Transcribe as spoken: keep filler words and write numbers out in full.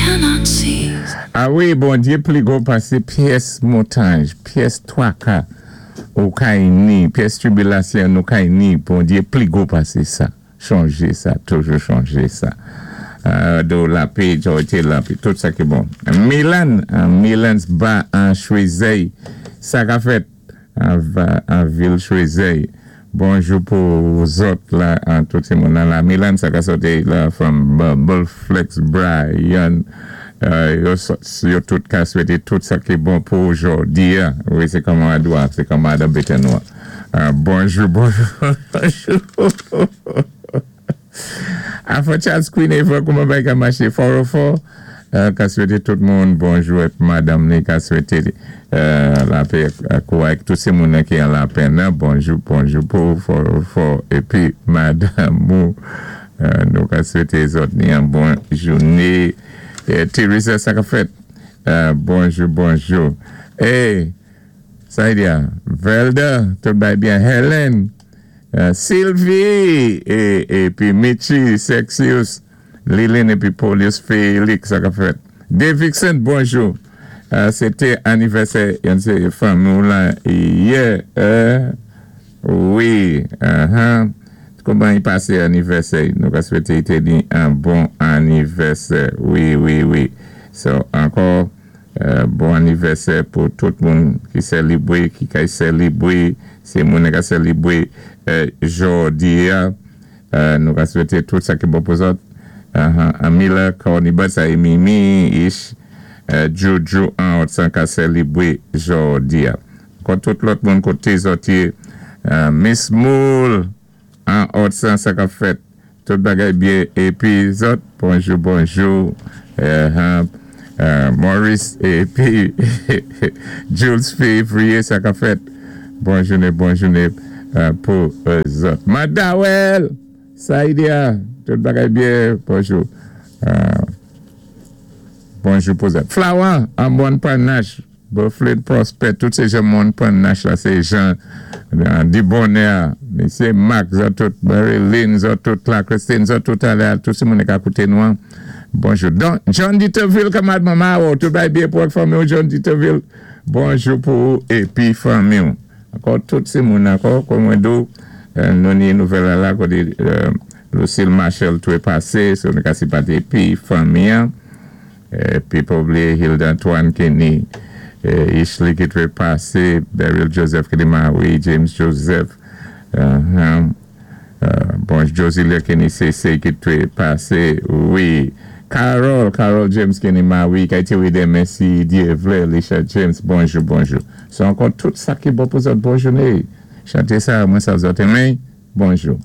cannot see. A wi, Bondyé pli gwo pasé pyès montay, pyès twaka ou kay ni, pyès tribilasyon nou kay ni, Bondyé pli gwo pasé sa. Chonjé sa, toujou chonjé sa. Euh, do lapè, jòyté lapè, tout sa ki bon. Milan, Milan's Bar an Choiseuil, sa ka fèt an, an vil Choiseuil. Bonjou pou zòt la, an tout moun la. Milan, sa ka sòti la from Bubble Flex Brian. Euh, yo, yo tout ka swété tout sa ki bon pou jòdi. Wi, sé kòman adwa, sé kòman adwa bètè nwa. Euh, bonjou, bonjou, bonjou. Afro Charles Queen Eva, kouman bagay ka maché? Four oh four, euh, ka swété tout moun bonjou é madanm ni ka swété euh, lapè ak tout sé moun ki an lapenn. Bonjou, bonjou pou four oh four épi madanm ou, euh, nou ka swété zòt ni yon bon jouné. É, Teresa, sa ka fèt? Euh, bonjou, bonjou. Hey, sa y a, Velda, tout bay byen. Helen, euh, Sylvie, é, épi Michi, Sexius, Lilin, épi Paulius Félix, sa ka fèt. Dave Vixen, bonjou. Euh, Sété anivèsè, yon sé fanmi la, yè, euh, wi, uh-huh. Kouman i pasé anivèsè? Nou ka swété té ni yon bon anivèsè. Wi, wi, wi. So, ankò, euh, bon anivèsè pou tout moun ki sélébwé, ki kay sélébwé, sé moun ki sélébwé euh, jòdi a. Euh, nou ka swété tout sa ki bon pou zòt. Uh-huh. Amila, Corny sa Mimi, Ish, euh, Juju, an, san ka sélébwé jòdi a. Ankò tout lòt moun koté zòt yé, euh, Miss Moule, an òt san, sa ka fèt. Tout bagay byen. Épi zòt, bonjou, bonjou. Euh, euh, Maurice, épi Jules Février, sa ka fèt. Bon jouné, bon jouné euh, pou zòt. Madawel, sa y a, tout bagay byen, bonjou. Euh, bonjou pou zòt. Flower, an Bon Panache, Buffalo Prospect, tout sé jan Bon Panache la, sé jan di bonè, Mésyé Marc, zòt tout, Marilyn, zòt tout la, Christine, zòt tout alé, tout sé moun ki kouté nou. Bonjou. Don, John Dieterville, kanmad manman, oh, tout bay byen pou fanmi, John Dieterville. Bonjou pou épi fanmi. Ankò tout sé moun ankò, kòm mwen di, euh, nou ni nouvèl la, koté euh, Lucille Marshall tou pasé, so nou ka senpati épi fanmi. Épi pa blié Hilda Antoine Kenny, Ishley ki té pasé, Beryl Joseph ki Marie, James Joseph, uh, uh, bon, Josie Kenny C C ki té pasé, wi. Carol, Carol James Kenny Marie, ki té démen si Dye vlé, Lisha James, bonjou, bonjou. So ankò tout sa ki bon pou zòt, bon jouné. Chanté sa, mwen sa zòt enmen, bonjou.